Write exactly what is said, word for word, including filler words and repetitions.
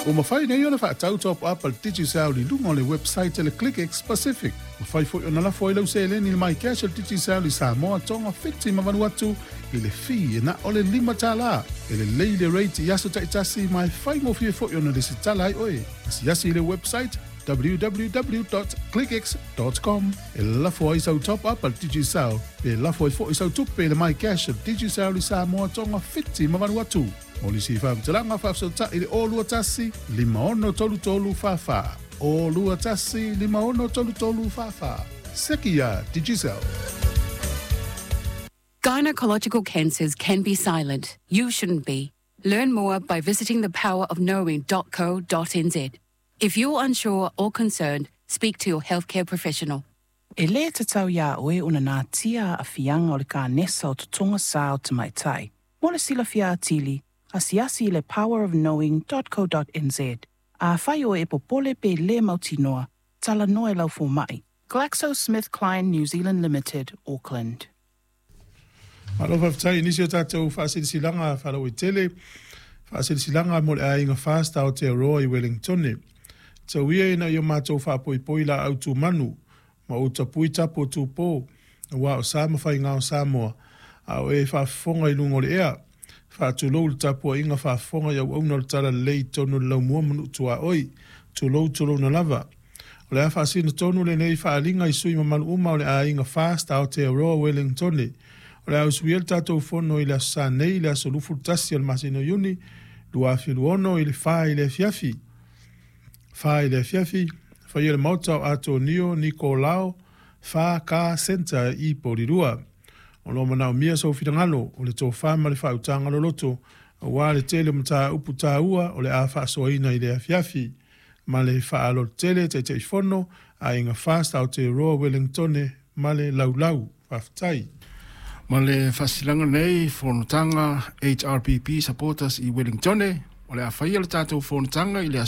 Ua mafai nei ona faatau top up a le Digicel i luga o le website a le ClickX Pacific. Mafai foi ona lafo ai lau seleni i le MyCash a le Digicel i Samoa, Tonga, Fiti ma Vanuatu i le fee e na o le lima tala. E lelei le rate i aso taitasi ma e faigofie foi ona lesitala ai oe. Asiasi i le website w w w dot clickx dot com e lafo ai sau top up a le Digicel pe lafo ai foi sau tupe i le MyCash a le Digicel i Samoa, Tonga, Fiti ma Vanuatu. Mo nisi faamatalaga faafesootai i le o lua tasi, lima ono tolu tolu fa fa. O lua tasi, lima ono tolu tolu fa fa. Seki ia Digicel. Gynecological cancers can be silent. You shouldn't be. Learn more by visiting the power of knowing dot co dot n z. If you're unsure or concerned, speak to your healthcare professional. E lē tatau iā oe ona natia aafiaga o le kanesa o totoga sa o tamaitai. Mo le silafia atili, asiasi i le power of knowing dot co dot n z. Afai oe e popole pe lē mautinoa, talanoa i lau fomaʻi. GlaxoSmithKline New Zealand Limited, Auckland. Malo faafetai i nisi o tatou faasilasilaga faalauaitele, faasilasilaga mo le aiga Fast Aotearoa i Wellingtone. Tau ia ina ia matou faapoipoi laau tumanu ma ou tapui tapu o tupō, auā o sa ma faiga o Samoa, a o e faafofoga i luga o le ea. Faatulou i le tapuaiga faafofoga i auauna o le Talalelei i totonu o le laumua ma nuu tuaoi. Tulou tulouna lava. O le a faasino tonu lenei faaaliga i sui mamalu uma o le aiga Fast Aotearoa Wellingtone. O le a usuia le tatou fono i le aso Sa nei, le aso lufu tasi o le masina o Iuni, lua afe luaono i le fa i le afiafi. Fa i le afiafi, faia le maota o Atonio Nikolao fa Ka Centre i Porirua. O lo o manaomia sou finagalo o le tofā ma le faautaga loloto, auā le tele o mataupu taua o le a faasoaina i le afiafi. Ma le faaaloalo tele Taitaifono, Aiga Fast Aotearoa Wellingtone ma le Laulau. Faafetai. Ma le faasilaga nei fonotaga H R P P supporters i Wellingtone, o le a faia le tatou fonotaga i le aso